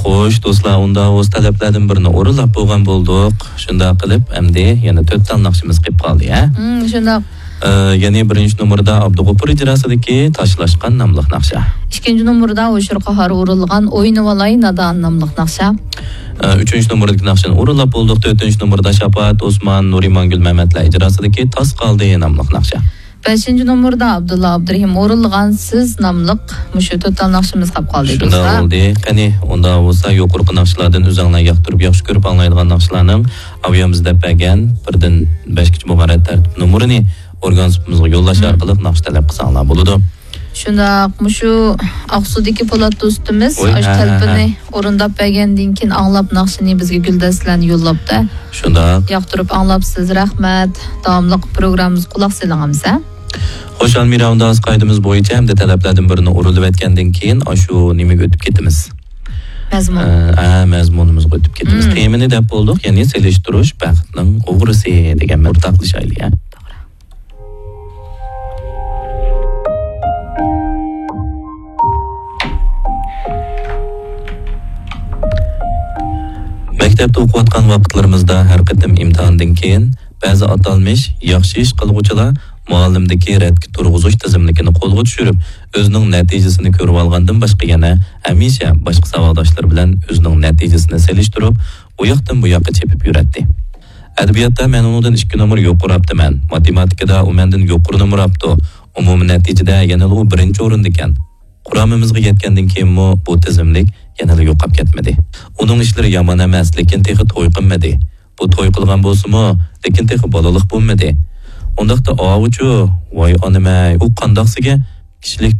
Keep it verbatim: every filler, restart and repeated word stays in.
خوش، دوستلار، ئۇنداق بولسا تەلەپلەردىن بىرىنى ئورۇنلاپ بولغان بولدۇق. شۇنداق قىلىپ، ئەمدى يەنە تۆت تال ناخشىمىز قېلىپ قالدى، ھە؟ مم، شۇنداق. ئە، يەنى بىرىنچى نومۇردا ئابدۇغوپۇر ئىجراسىدىكى تاشلاشقان ناملىق ناخشا. ئىككىنچى نومۇردا ھوشۇر قاھار ئورۇنلىغان ئوينىۋالاي نادان ناملىق ناخشا. ئە، ئۈچىنچى نومۇردىكى ناخشىنى ئورۇنلاپ بولدۇق. تۆتىنچى نومۇردا شاپائەت ئوسمان، نۇرىمانگۈل مەمەتلەر ئىجراسىدىكى تاس قالدى ناملىق ناخشا. بەشىنچى نومۇردا ئابدۇللا ئابدۇرېھىم ئورۇنلىغان سىز ناملىق مۇشۇ تۆت تال ناخشىمىز قاپ قالدى، شۇنداق دوستلار. بولدى. قېنى، ئۇنداق بولسا يۇقىرىقى ناخشىلاردىن ئۆزۈڭلار ياقتۇرۇپ، ياخشى كۆرۈپ ئاڭلايدىغان ناخشىلارنىڭ ئاۋۇ يەردە دەپ بەرگەن بىردىن بەشكىچە بولغان رەت تەرتىپ نومۇرىنى ئورگان سۇپىمىزغا يوللاش مم. ئارقىلىق ناخشا تەلەپ قىلساڭلار بولىدۇ. شۇنداق، مۇشۇ ئاقسۇدىكى پولات دوستىمىز ۋوي، ئاشۇ ھە، ھە، تەلىپىنى ھە. ئورۇنداپ بەرگەندىن كېيىن ئاڭلاپ ناخشىنى بىزگە گۈلدەستىلەرنى يوللاپتۇ. شۇنداق. ياقتۇرۇپ ئاڭلاپسىز، رەھمەت. داۋاملىق پروگراممىمىزغا قۇلاق سېلىڭ ئەمىسە. خوش، ئالمىرا، ئۇنداق قائىدىمىز بويىچە ئەمدى تەلەپلەردىن بىرىنى ئورۇنلىۋەتكەندىن كېيىن ئاشۇ نېمىگە ئۆتۈپ كېتىمىز. مەزمۇن. ئە، ئە، مەزمۇنىمىزغا ئۆتۈپ كېتىمىز. مم. تېمىنى دەپ بولدۇق، يەنى سېلىشتۇرۇش بەختنىڭ ئوغرىسى دېگەن بىر ئورتاقلىشايلى، ھە؟ مەكتەپتە ئوقۇۋاتقان ۋاقىتلىرىمىزدا ھەر قېتىم ئىمتىھاندىن كېيىن بەزى ئاتالمىش ياخشى ئىش قىلغۇچىلار مۇئەللىمدىكى رەتكە تۇرغۇزۇش تىزىملىكىنى قولغا چۈشۈرۈپ، ئۆزىنىڭ نەتىجىسىنى كۆرۈۋالغاندىن باشقا يەنە ھەمىشە باشقا ساۋاقداشلىرى بىلەن ئۆزىنىڭ نەتىجىسىنى سېلىشتۇرۇپ، ئۇ ياقتىن بۇ ياققا چېپىپ يۈرەتتى. ئەدەبىياتتا مەن ئۇنىڭدىن ئىككى نومۇر يۇقىرى ئاپتىمەن، ماتېماتىكىدا ئۇ مەندىن يۇقىرى نومۇر ئاپتۇ، ئومۇمىي نەتىجىدە يەنىلا ئۇ بىرىنچى ئورۇندىكەن. قۇرامىمىزغا يەتكەندىن كېيىنمۇ بۇ تىزىملىك يەنىلا يوقاپ كەتمىدى. ئۇنىڭ ئىشلىرى يامان ئەمەس، لېكىن تېخى توي قىلمىدى. بۇ توي قىلغان بولسىمۇ، لېكىن تېخى بالىلىق بولمىدى. ئۇنداقتا ئاۋۇچۇ، ۋاي ئانىمەي، ئۇ قانداقسىگە كىشىلىك